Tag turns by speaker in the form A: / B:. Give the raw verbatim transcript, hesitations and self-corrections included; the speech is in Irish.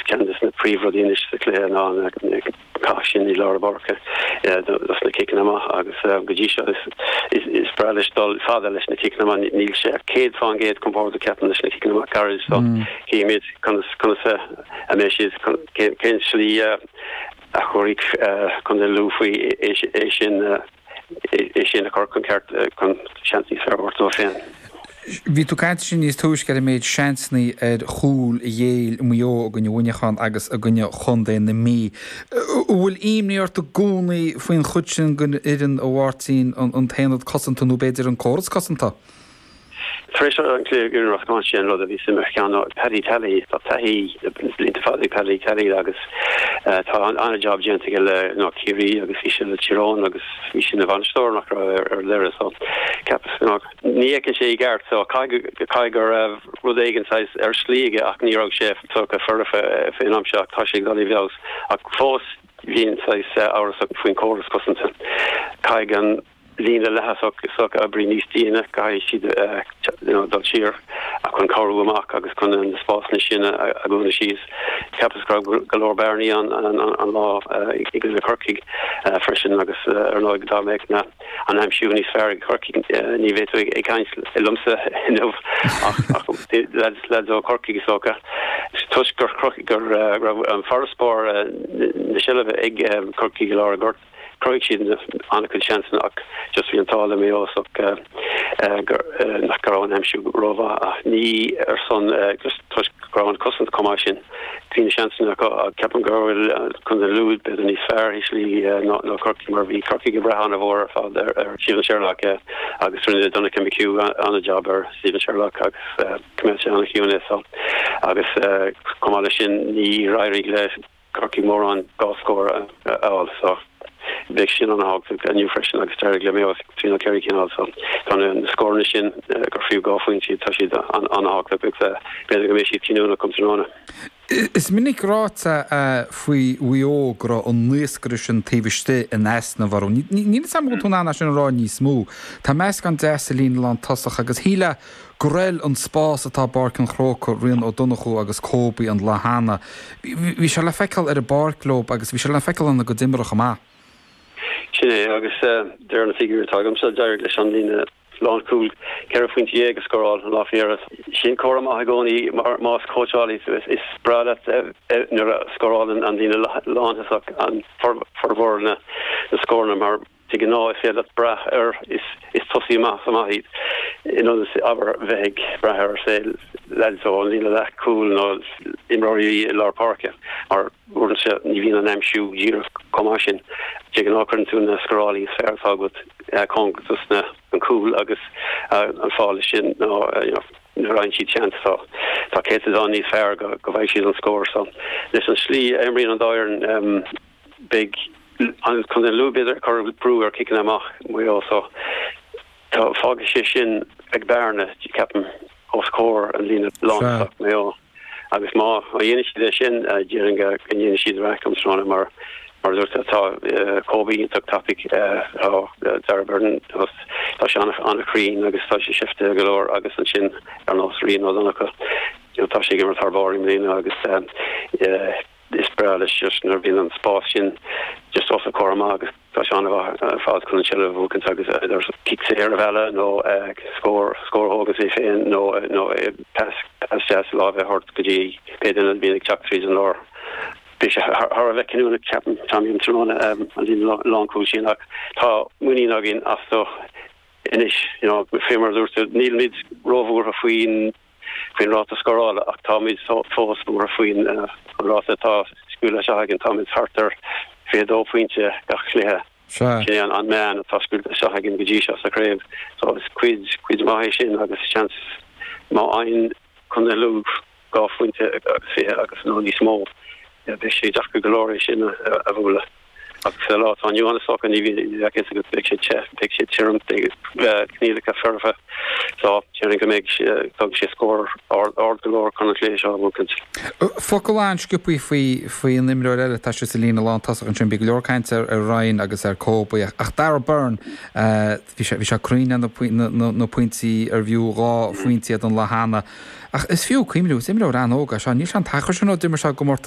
A: Ceann de na príomhrudaí anois sa chluiche ná na cath sin i lár na páirce dos na ciceanna amach agus go dtí seo is is breá leis dul fada leis na ciceanna amach. Níl sé céad faoin gcéad compordach, ceapaim, leis na ciceanna amach gairid, so címid conas conas a mbeidh siad, cén slí a chuirfidh Contae Lú faoi é sin é sin a chur chun ceart chun seans níos fearr a thabhairt dóibh féin.
B: Bhí tú ag caint ansin níos túisce ar an méid seansanna ar chúl a ghéill Maigh Eo i gcoinne Mhuineacháin agus i gcoinne Chontae na Mí. An bhfuil imní ort i gcónaí faoin chuid sin den fhoireann, a Mháirtín, an t-aonad cosanta nó b'fhéidir an córas cosanta?
A: Tar éis an cluiche i gcoinne Ros Comáin, sé an rud a bhí suim ar cheann ná Paddy Tally. Tá taithí blianta fada ag Paddy Tally agus tá an-jab déanta aige le no Ciarraí agus bhí sé le Tír Eoghain agus bhí sé ina bhainisteoir nach raibh ar deireadh, so ceapas no, ní fheiceann sé i gceart, so caithfidh go raibh rud éigin saghas ar slí aige ach ní raibh sé tugtha foirfe faoin am seo. Tá sé ag dul i bhfeabhas ach fós bhíonn saghas amhrasach faoin córas cosanta. Caithfidh an líne leath-thosach s'acu oibriú níos déine, caithfidh siad you know, dul siar chun cabhrú amach agus chun na spásanna sin a dhúnadh síos. Ceapas go raibh go leor bearnaí an, an, an lá i gcoinne Corcaigh freisin agus ar ndóigh dá mbeadh na an aimsiú níos fearr ag Corcaigh ní bheadh tú ag caint liomsa inniu ach ach lads lads ó Corcaigh is dócha. Toisc gur gur raibh an farasbarr na seilbhe ag Corcaigh i lár an ghoirt, chruthaigh siad an-chuid seansanna ach just bhí an t-ádh le Maigh Eo gur nach go raibh an aimsiú rómhaith ach ní ar son just toisc go raibh an cosaint chomh maith sin. Bhí na seansanna acu ach ceapaim go bhfuil Contae Lú b'fhéidir níos fearr i slí ná ná Corcaigh mar bhí Corcaigh ag brath an-mhór ar fad ar ar Stephen Sherlock agus rinne Donncha McHugh an-jab ar Stephen Sherlock agus choimeád sé an-chiúin é so agus chomh maith leis sin níor éirigh le Corcaigh mórán dhá scór a fháil so beidh sin an-tábhachtach inniu freisin agus d'éirigh le Maigh Eo trí nó ceithre cinn a fháil so tá na scóranna sin gur fiú dhá phointe, tá siad an-tábhachtach agus b'fhéidir go mbeidh siad cinniúnach um tráthnóna.
B: Is minic ráite faoi Mhaigh Eo go raibh an naoscaire sin taobh istigh in easnamh orthu. Níl a fhios agam an bhfuil tú in ann é sin a rá níos mó. Tá meascán deas sa líne lántosach agus shílfeá gur fheil an spás atá i bPáirc an Chrócaigh, Rian Ó Donnchú agus Kobe an lá cheana. Bhí sé le feiceáil ar an bpáirc leo agus bhí sé le feiceáil ina gcuid imeartha chomh maith.
A: Sin é agus de réir na figiúirí atá agamsa, d'éirigh leis an líne lánchúil ceithre phointe dhéag a scóráil an lá faoi dheireadh. Sin comhartha maith i gcónaí mar más cóitseálaí tú is breá leat nuair a scórálann an líne lántosach an formhór na scóranna mar de ghnáth is féidir leat brath ar is is tosaí amach is amach iad in ionad abair bheith ag brath ar say lads ó an líne leathchúil nó imreoirí i lár páirce mar uaireanta ní bhíonn an aimsiú díreach chomh maith sin. De ghnáth cuireann tú na scórálaí is fearr atá agat cóngarach dos na an cúl agus an fáth leis sin ná you know, nuair a fhaigheann siad seans tá tá céatadán níos fearr go go bhfaighidh siad an scór so leis an slí a imríonn an dá fhoireann um, beidh an Contae Lú b'fhéidir ag cur brú ar ciceanna amach Maigh Eo so tá fágfaidh sé sin ag bearna ceapaim os comhair an líne lántosach Maigh Eo agus má dhéanann siad é sin déarfainn go ndéanfaidh siad raic um tráthnóna mar mar dúirt tá Kobe iontach tapaidh tá Darragh Beirne tá sé an-chruinn agus tá sé seifte go leor agus ansin ar nós Rian Ó Donnchú tá sé ag imirt thar barr i mbliana agus is breá leis just nuair a bhíonn an spás sin just os a chomhair amach agus tá sé an-mhaith ar fad chun an tseilbh a bhuachaint agus idir cic saor a mhealladh nó scór scór a thógáil é féin nó nó pas pas deas láimhe a thabhairt go dtí pé duine a bhíonn ag teacht tríd an lár. Beidh sé thar a bheith cinniúnach ceapaim Tommy um tráthnóna an líne lánchúil sin ach tá muinín againn astu anois you know fé mar a dúirt tú nílimid róbhuartha faoin faoin ráta scórála ach táimid fós buartha faoin an ráta atá scaoilte isteach againn. Táimid thart ar fiche dó pointe gach cluiche.
B: Sea.
A: Sin é an meán atá scaoilte isteach againn go dtí seo sa chraobh. So is cuid cuid mhaith é sin agus seans má fhaigheann Contae Lú dhá phointe agus fiche agus nó níos mó beidh sé deacair go leor é sin a bhualadh. Ach sa lá atá inniu ann is dócha ní bheidh a fhios agat beidh sé te, beidh sé tirim, beidh coinníollacha foirfe so déarfainn go mbeidh tógfaidh sé scór ard ard go leor chun an cluiche seo a bhuachaint.
B: Focal an-sciobtha faoi faoi an imreoir eile atá sa líne lántosach ansin, bhí go leor cainte ar ar Ryan agus ar Kobe ach ach Darragh Beirne bhí sé bhí sé cruinn ar na na na pointí ar fiú dhá phointe iad an lá cheana. Ach is fiú cuimhniú, is imreoir an-óg é seo, níl sé an t-achar sin ó d'imir sé i gcomórtas